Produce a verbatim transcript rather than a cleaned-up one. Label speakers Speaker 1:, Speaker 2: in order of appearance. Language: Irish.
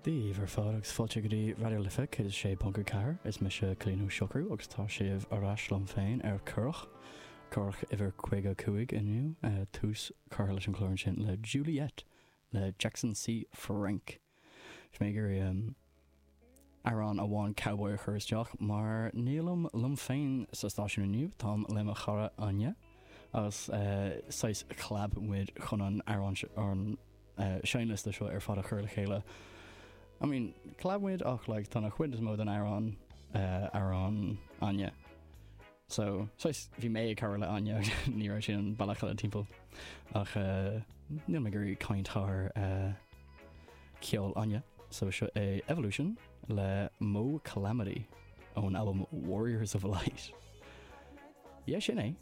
Speaker 1: Dia daoibh ar fad agus fáilte go dtí Raidió Life céad a sé ponc a ceathair. Is mise Cillín Ó Siochrú agus tá sibh ar ais liom féin ar Currach. Currach uimhir caoga a cúig inniu. Tús curtha leis an chlár ansin le Juliet le Jackson C. Frank. Bhí mé ag iarraidh amhrán amháin cowboy a chur isteach mar nílim liom féin sa stáisiún inniu, táim le mo chara Áine agus saghas collab muid chun an amhrán an seinnliosta seo ar fad a chur le chéile. I mean, collab muid ach like tá an chuid is mó den amhrán amhrán Áine. So saghas bhí mé ag cabhrú le Áine ní raibh sin an bealach eile timpeall ach níl mé ag iarraidh caint thar ceol Áine. So seo é Evolution le Mo Calamity ón albam Warriors of Light. Yeah, sin é.